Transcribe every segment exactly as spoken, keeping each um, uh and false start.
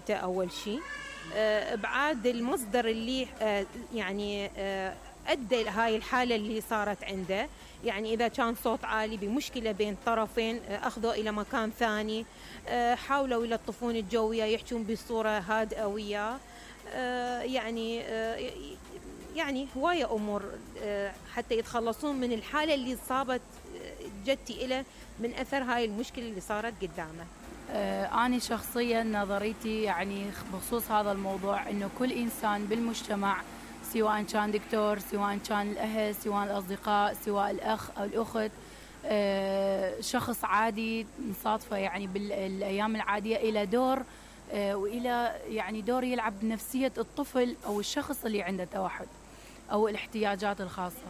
بيته أول شيء، ابعاد المصدر اللي يعني أدى هاي الحالة اللي صارت عنده. يعني إذا كان صوت عالي بمشكلة بين طرفين، أخذوا إلى مكان ثاني، حاولوا يلطفون الجو وياه، يحجون بصورة هادئة وياه. يعني يعني هواية أمور حتى يتخلصون من الحالة اللي صابت جدتي إله من أثر هاي المشكلة اللي صارت قدامه. أنا شخصيا نظريتي يعني بخصوص هذا الموضوع إنه كل إنسان بالمجتمع، سواء كان دكتور، سواء كان الأهل، سواء الأصدقاء، سواء الأخ أو الأخت، شخص عادي نصادفه يعني بالأيام العادية إلى دور وإلى يعني دور يلعب بنفسية الطفل أو الشخص اللي عنده توحد أو الاحتياجات الخاصة.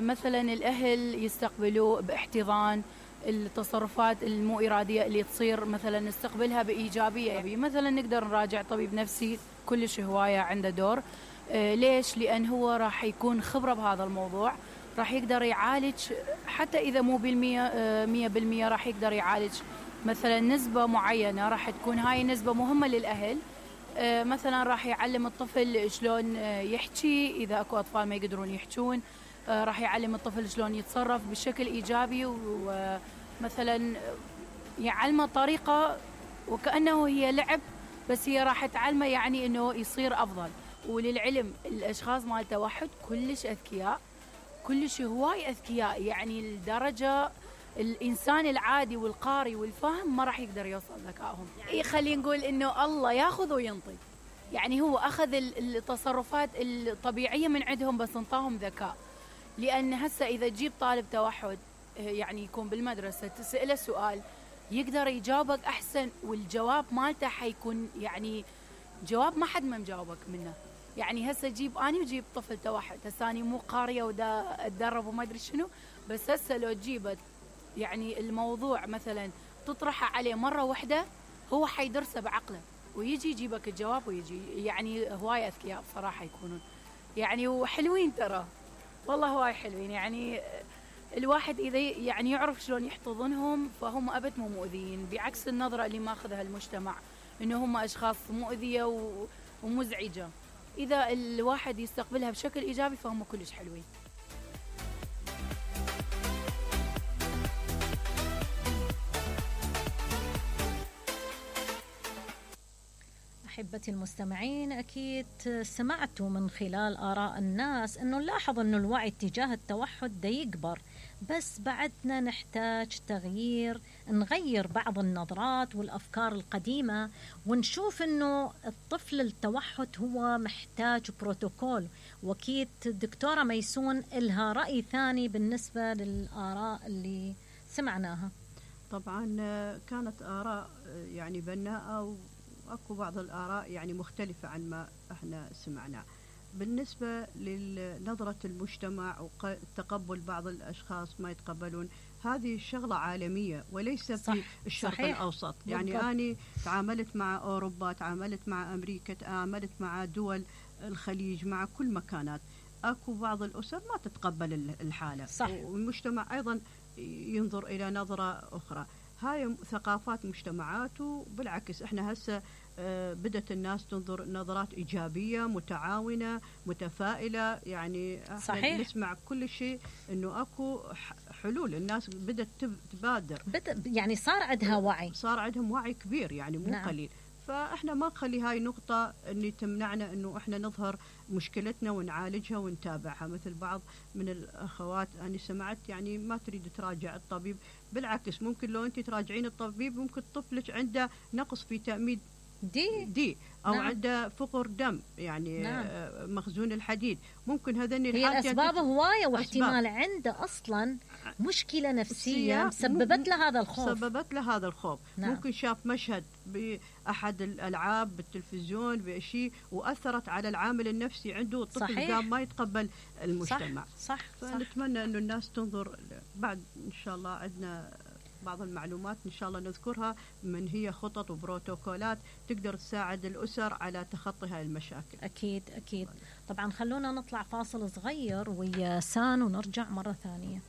مثلا الأهل يستقبلوه باحتضان، التصرفات المو إرادية اللي تصير مثلا نستقبلها بإيجابية. يعني مثلا نقدر نراجع طبيب نفسي كلش هواية عنده دور. آه ليش؟ لأن هو راح يكون خبرة بهذا الموضوع، راح يقدر يعالج حتى إذا مو بالمية آه مية بالمية، راح يقدر يعالج مثلا نسبة معينة، راح تكون هاي نسبة مهمة للأهل. آه مثلا راح يعلم الطفل شلون آه يحكي إذا أكو أطفال ما يقدرون يحكون، آه راح يعلم الطفل شلون يتصرف بشكل إيجابي، ومثلا يعلمه طريقة وكأنه هي لعب، بس هي راح تعلمه يعني إنه يصير أفضل. وللعلم الأشخاص مال التوحد كلش أذكياء، كلش هواي أذكياء، يعني الدرجة الإنسان العادي والقاري والفاهم ما راح يقدر يوصل ذكائهم. إيه خلينا نقول إنه الله ياخذ وينطي، يعني هو أخذ التصرفات الطبيعية من عندهم بس انطاهم ذكاء. لأن هسه إذا تجيب طالب توحد يعني يكون بالمدرسة تسأله سؤال يقدر يجاوبك أحسن، والجواب مالته حيكون يعني جواب ما حد ما مجاوبك منه. يعني هسه جيب أنا وجيب طفل توحد، هسه أنا مو قارية ودا أتدرب وما أدري شنو، بس هسه لو تجيبت يعني الموضوع مثلا تطرحه عليه مرة واحدة هو حيدرسه بعقله ويجي يجيبك الجواب ويجي. يعني هواي أذكياء بصراحة يكونون يعني، وحلوين ترى والله هواي حلوين. يعني الواحد إذا يعني يعرف شلون يحتضنهم فهم أبد مو مؤذيين، بعكس النظرة اللي ماخذها المجتمع إنه هم أشخاص مؤذية ومزعجة. إذا الواحد يستقبلها بشكل إيجابي فهم كلش حلوين. أحبتي المستمعين، أكيد سمعتوا من خلال آراء الناس أنه نلاحظ أنه الوعي تجاه التوحد دا يكبر، بس بعدنا نحتاج تغيير، نغير بعض النظرات والأفكار القديمة، ونشوف أنه الطفل التوحد هو محتاج بروتوكول. وأكيد الدكتورة ميسون إلها رأي ثاني بالنسبة للآراء اللي سمعناها. طبعا كانت آراء يعني بناءة، وأكو بعض الآراء يعني مختلفة عن ما احنا سمعناه. بالنسبة لنظرة المجتمع وتقبل بعض الأشخاص ما يتقبلون، هذه شغلة عالمية وليس في الشرق صحيح. الأوسط. يعني بالضبط. أنا تعاملت مع أوروبا، تعاملت مع أمريكا، تعاملت مع دول الخليج، مع كل مكانات أكو بعض الأسر ما تتقبل الحالة صح. والمجتمع أيضا ينظر إلى نظرة أخرى. هاي ثقافات مجتمعات، وبالعكس احنا هسه بدأت الناس تنظر نظرات إيجابية متعاونة متفائلة. يعني صحيح. نسمع كل شيء إنه أكو حلول، الناس بدأت تبادر، يعني صار عندها وعي، صار عندهم وعي كبير يعني مو نعم. قليل. فإحنا ما نخلي هاي نقطة إني تمنعنا إنه إحنا نظهر مشكلتنا ونعالجها ونتابعها. مثل بعض من الأخوات أنا سمعت يعني ما تريد تراجع الطبيب، بالعكس ممكن لو أنت تراجعين الطبيب ممكن طفلك عنده نقص في تأمين دي, دي أو نعم. عنده فقر دم يعني نعم. مخزون الحديد، ممكن هذني هي الأسباب هواية، واحتمال عنده أصلا مشكلة نفسية سببت له هذا الخوف سببت له هذا الخوف نعم. ممكن شاف مشهد بأحد الألعاب بالتلفزيون بشيء وأثرت على العامل النفسي عنده، الطفل قام ما يتقبل المجتمع. صح, صح. فنتمنى أنه الناس تنظر بعد. إن شاء الله عندنا بعض المعلومات إن شاء الله نذكرها، من هي خطط وبروتوكولات تقدر تساعد الأسر على تخطي هاي المشاكل. أكيد أكيد. طبعا خلونا نطلع فاصل صغير ويا سان ونرجع مرة ثانية.